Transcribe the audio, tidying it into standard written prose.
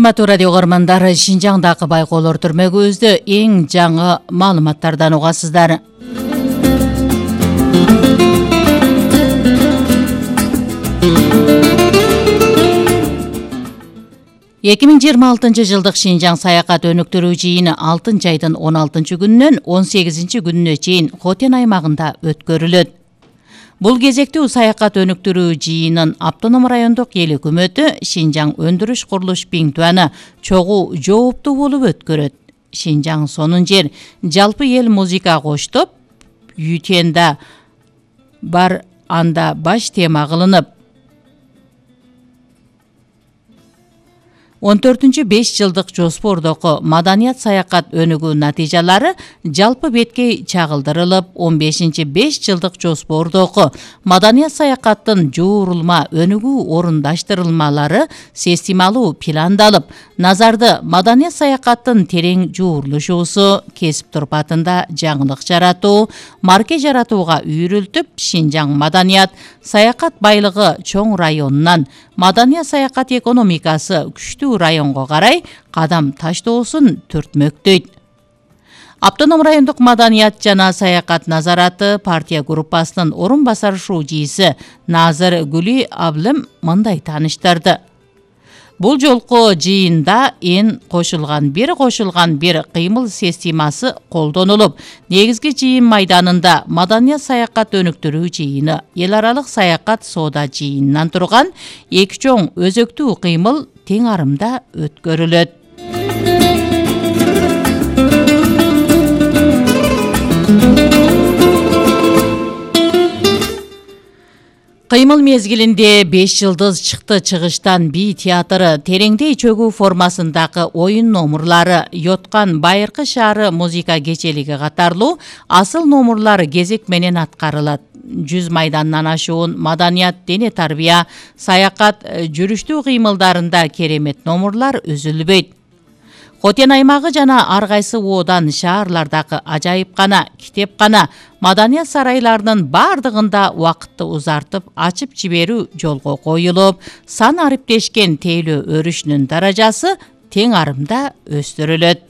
Кымбаттуу радио көрөрмандар, Шинжаңдагы байкоолор түрмөгүбүздө эң жаңы маалыматтардан угасыздар. Эки миң жыйырма алтынчы жылдык Шинжаң саякат өнүктүрүү жыйыны 6 айдын 16 күнүнөн 18 күнүнө чейин Хотен аймагында өткөрүлөт. Бул кезектүү саякат өнүктүрүү жыйынын автоном райондук эл өкмөтү Шинжаң өндүрүш курулуш пиңтуаны чогуу жооптуу болуп өткөрөт. Шинжаң сонун жер жалпы эл музыка коштоп, Ютенда бар анда баш тема кылынып, 14-5 жылдык жоспордогу маданият саякат өнүгүү натыйжалары жалпы бетке чагылдырылып, 15-5 жылдык жоспордогу маданият саякаттын жуурулма өнүгүү орундаштырылмалары системалуу пландалып, назарды маданият саякаттын терең жуурулушуусу, кесип турпатында жаңылык жаратуу, марке жаратууга үйрүлтүп, Шинжаң маданият саякат байлыгы чоң районунан маданият саякат экономикасы күчтүү районго карай кадам таштоосун түртмөктөйт. Автоном райондук маданият жана саякат назараты партия группасынын орун басар шууджийси Назыр Гүли Аблым мындай тааныштырды. Бул жолку жыйында кошулган бир кыймыл системасы колдонулуп, негизги жыйын майданында маданият саякат өнүктүрүү жыйыны, эл аралык саякат соода жыйынынан турган эки чоң өзөктүү кыймыл тең арымда өткөрүлөт. Кыймыл мезгилинде 5 жылдыз чыкты чыгыштан би театры, тереңдей чөгүү формасындагы оюн номурлары, Йоткан Байыркы шаары музыка кечелиги катарлуу асыл номурлар кезек менен аткарылат. 100 майдандан ашуун маданият, дене тарбия, саякат, жүрүштүү кыймылдарында керемет номурлар үзүлбөйт. Хотен аймагы жана ар кайсы оодан шаарлардагы ажайыпкана, китепкана, маданият сарайларынын бардыгында убакытты узартып, ачып жиберүү жолго коюлуп, сан ариптешкен тейлөө өрүшүнүн даражасы тең арымда өстүрүлөт.